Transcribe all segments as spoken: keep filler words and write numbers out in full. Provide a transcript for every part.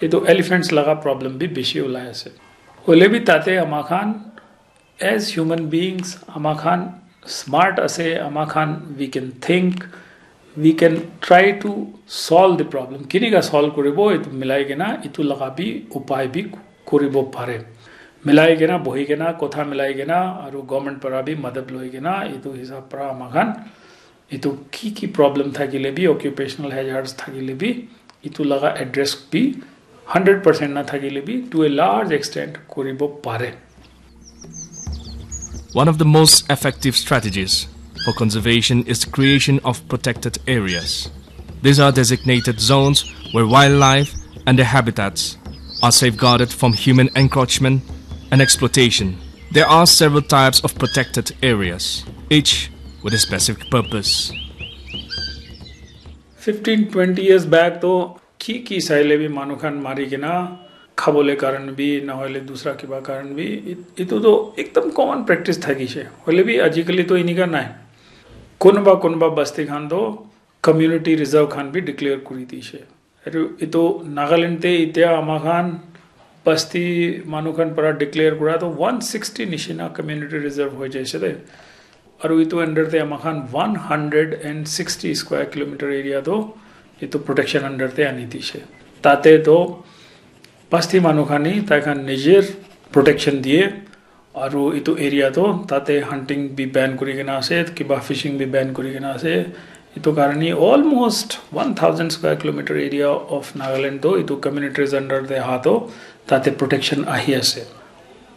Etu elephants laga problem bi bishi ulai ase. Hoile bi tate ama khan, as human beings, ama khan smart ase, ama khan we can think, we can try to solve the problem. Kinika solve kuribo, etu milai kena, etu laga bi upai bi kuribo pare. Milai kena, bohi kena, kotha milai kena, aru government para bi madad loi kena, etu hisab para ama khan, etu ki ki problem thakile bi, occupational hazards thakile bi, etu laga address bi hundred percent na thakile bi, to a large extent kuribo pare. One of the most effective strategies for conservation is the creation of protected areas. These are designated zones where wildlife and their habitats are safeguarded from human encroachment and exploitation. There are several types of protected areas, each with a specific purpose. Fifteen twenty years back to ki ki saile bi manu khan mari kena khabole karan bi, na hoile dusra kiba karan bi, it- itu to ekdam common practice thakise. Hoile bi ajikali to inika nai. Konoba konoba basti khan to community reserve khan bi declare kuri dise. Aru itu Nagaland te itya ama khan basti manu khan para declare kura to one sixty nishina community reserve hoi jaise de. Aru itu under te ama khan one hundred and sixty square kilometer area to itu protection under te ani dise. Tate to basti manu khan hi tai khan nijer protection diye. Aru itu area to tate hunting bi ban kuri kena ase, kiba fishing bi ban kuri kena ase. Itu karani almost one thousand square kilometer area of Nagaland to itu communities under te aha to tate protection ahi ase.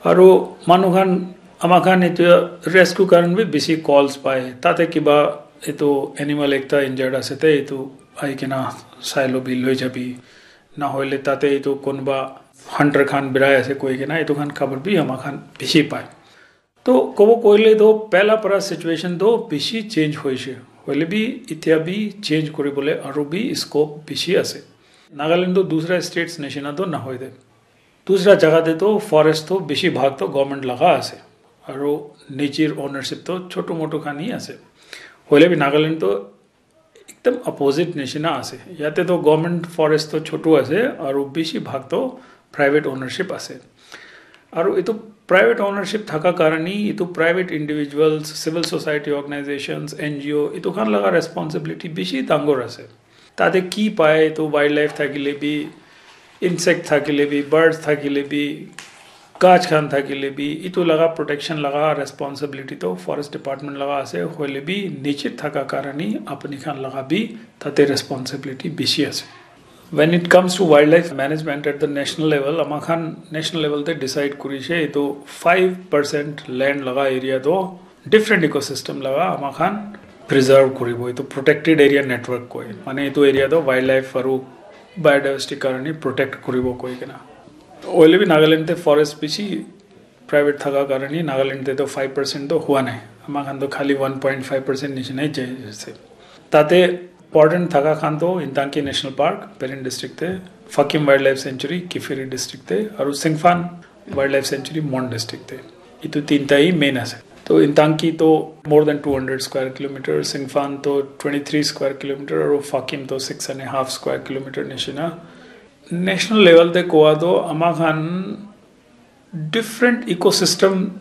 Aru manu khan ama khan itu rescue karan bi bishi calls pai. Tate kiba itu animal ekta injured ase te itu ahi kena sailo bi loi jabi. Na hoile tate itu konoba hunter khan birai ase koi kena itu khan khabor bi ama khan bishi pai. To kobo koile to pehla para situation to bishi change hoise. Hoile bi itya bi change kuribole aru bi scope bishi ase. Nagaland to dusra states nishina to nahoi de. Dusra jaga te to forest to bishi bhag to government laga ase. Aru nijir ownership to chotu motu khan hi ase. Hoile bi Nagaland to ekdam opposite nishina ase. Yate to government forest to chotu ase aru bishi bhag to private ownership ase. Aru itu private ownership thaka karani itu private individuals, civil society organizations, N G O itu khan laga responsibility bishi dangor ase. Tate ki pai itu wildlife thakile bi, insect thakile bi, birds thakile bi, gach khan thakile bi, itu laga protection laga responsibility to forest department laga ase, hoile bi niche thaka karani apni khan laga bi tate responsibility bishi ase. When it comes to wildlife management at the national level, ama khan national level te decide kurise itu five percent land laga area to different ecosystem laga ama khan preserve kuribo, itu protected area network koi. Mane itu area to wildlife aru biodiversity karani protect kuribo koi kena. Hoile bi Nagaland te forest bishi private thaka karani Nagaland te to five percent to hua nai. Ama khan to khali one point five percent nishina jai ase. Tate important thaka khan to Intanki National Park, Peren District te, Fakim Wildlife Sanctuary, Kiphire District te, aru Singphan Wildlife Sanctuary, Mon District te. Itu tinta hi main ase. To Intanki to more than two hundred square kilometer, Singphan to twenty-three square kilometer, aru Fakim to six and a half square kilometer nishina. National level te kowa to ama khan different ecosystem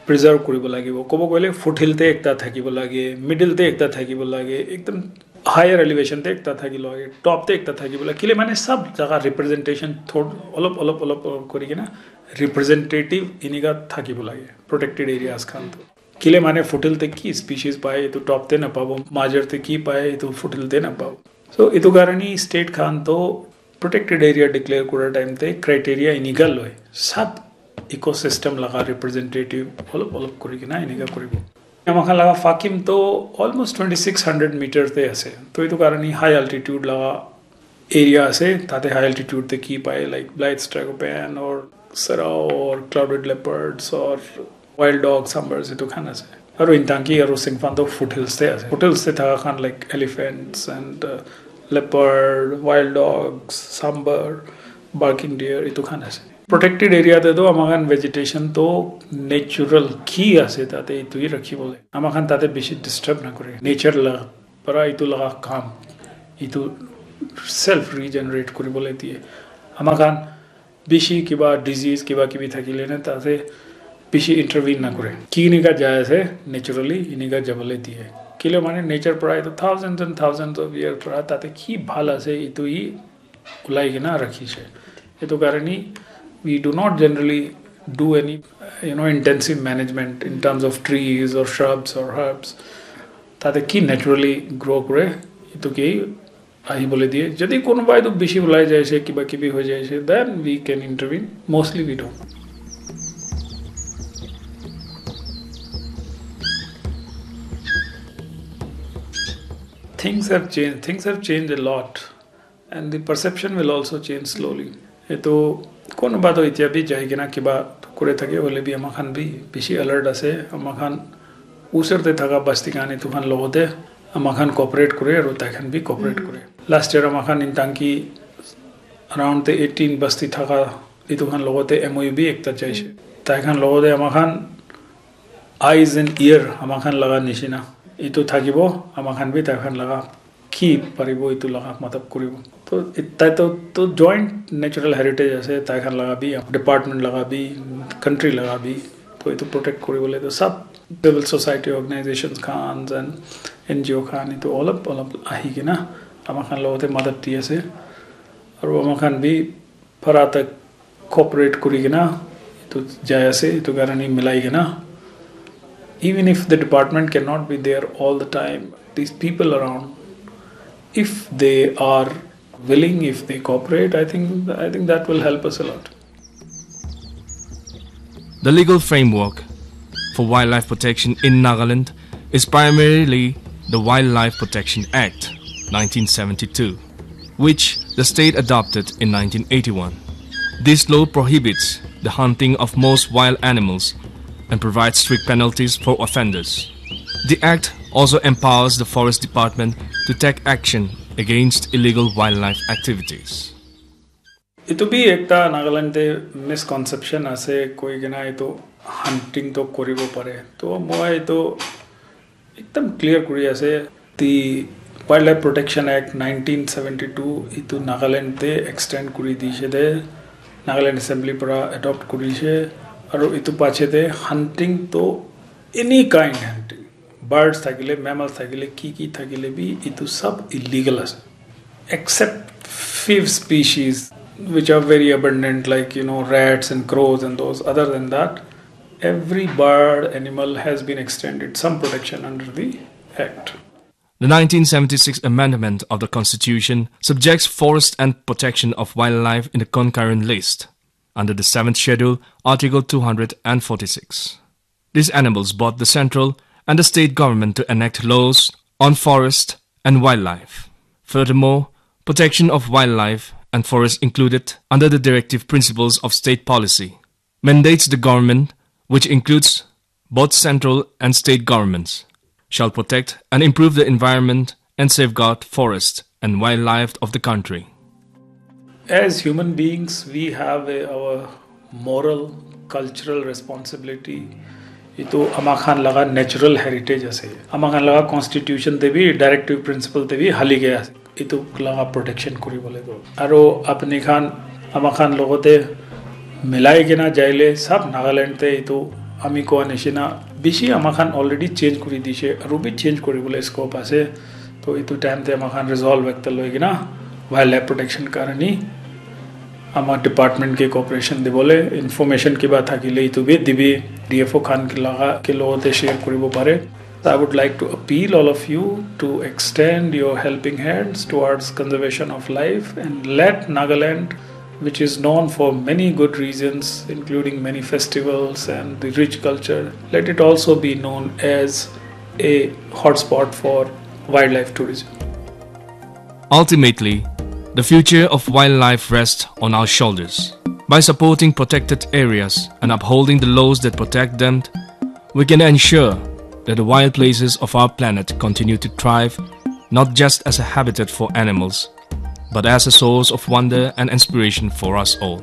preserve kuribo lagibo. Kobo koile foothill te ekta thakibo lage, middle te ekta thakibo lage, ekdam higher elevation te ekta thakibo lage, top te ekta thakibo lage. Kile mane sab jaga representation thod olop olop olop olop kuri kena representative inika thakibo lage protected areas khan to. Kile mane foothill te ki species pai itu top te na pabo, major te ki pai itu foothill te na pabo. So itu karani state khan to protected area declare kura time te criteria inika loi sab ecosystem laga representative olop olop kuri kena inika kuribo. Ama khan laga Fakim to almost twenty six hundred meter te ase. To itu karani high altitude laga area ase, tate high altitude te ki pai, like Blythe's tragopan or serau or clouded leopards or wild dog, sambars itu khan ase. Aru Intanki aru Singphan to foothills te ase. Foothills te thaka khan like elephants and uh, leopard, wild dogs, sambar, barking deer itu khan ase. Protected area te to ama khan vegetation to natural ki ase tate itu hi rakhibole. Ama khan tate bishi disturb na kore. Nature la para itu laga kam itu self regenerate kuribole diye. Ama khan bishi kiba disease kiba kibi thakile na tate bishi intervene na kore. Ki enika jai ase naturally enika jabole diye. Kile mane nature para itu thousands and thousands of years para tate ki bhal ase itu hi ulai kena rakhishe. Itu karani we do not generally do any you know intensive management in terms of trees or shrubs or herbs. Tate ki naturally grow kore itu ki ahibole diye. Jodi konobai to bishi ulai jaise kiba kibi hoi jaise, then we can intervene. Mostly we don't. Things have changed. Things have changed a lot, and the perception will also change slowly. Etu konoba to itya bi jai kena kiba kore thake hoile bi ama khan bi bishi alert ase. Ama khan usor te thaka basti khan etu khan logote ama khan cooperate kore aru tai khan bi cooperate kore. Last year ama khan in Tangki around the eighteen basti thaka etu khan logote M O U bi ekta jaise. Tai khan logote ama khan eyes and ear ama khan laga nishina etu thakibo, ama khan bi tai khan laga ki paribo etu laga matlab kuribo. To tai to, to joint natural heritage ase, tai khan laga bi, department laga bi, country laga bi. To etu protect kuribole to sab civil society organizations khan and N G O khan etu olop olop ahi kena ama khan logote madad di ase. Aru ama khan bi para tak cooperate kuri kena etu jai ase, etu karani milai kena. Even if the department cannot be there all the time, these people around, if they are willing, if they cooperate, I think I think that will help us a lot. The legal framework for wildlife protection in Nagaland is primarily the Wildlife Protection Act nineteen seventy-two, which the state adopted in nineteen eighty-one. This law prohibits the hunting of most wild animals and provides strict penalties for offenders. The act also empowers the Forest Department to take action against illegal wildlife activities. Itu bi ekta Nagaland te misconception ase koi kena itu hunting to koribo pare. To moi itu ekdam clear kuri ase. The Wildlife Protection Act nineteen seventy-two itu Nagaland te extend kuri dishe de, Nagaland Assembly para adopt kurishe, aru itu pache de hunting to any kind hunting, birds thakile, mammals thakile, ki ki thakile bi itu sab illegal ase, except few species which are very abundant, like you know rats and crows and those. Other than that, every bird animal has been extended some protection under the act. The nineteen seventy-six amendment of the Constitution subjects forest and protection of wildlife in the concurrent list under the seventh Schedule, Article two hundred forty-six. This enables both the central and the state government to enact laws on forest and wildlife. Furthermore, protection of wildlife and forest included under the directive principles of state policy mandates the government, which includes both central and state governments, shall protect and improve the environment and safeguard forest and wildlife of the country. As human beings, we have a, our moral, cultural responsibility. Itu ama khan laga natural heritage ase. Ama khan laga constitution te bi, directive principle te bi hali gaya ase. Itu laga protection kuri bole to. Aro apni khan, ama khan logote milai kena jaile sab Nagaland te itu ami koa nishina bishi ama khan already change kuri dishe, aru bi change kuri bole scope ase. To itu time te ama khan resolve ekta loi kena wildlife protection karani ama department ke cooperation dibole, information kiba thakile itu bi dibi, D F O khan ke laga ke logote share kuribo pare. I would like to appeal all of you to extend your helping hands towards conservation of life and let Nagaland, which is known for many good reasons, including many festivals and the rich culture, let it also be known as a hotspot for wildlife tourism. Ultimately, the future of wildlife rests on our shoulders. By supporting protected areas and upholding the laws that protect them, we can ensure that the wild places of our planet continue to thrive, not just as a habitat for animals, but as a source of wonder and inspiration for us all.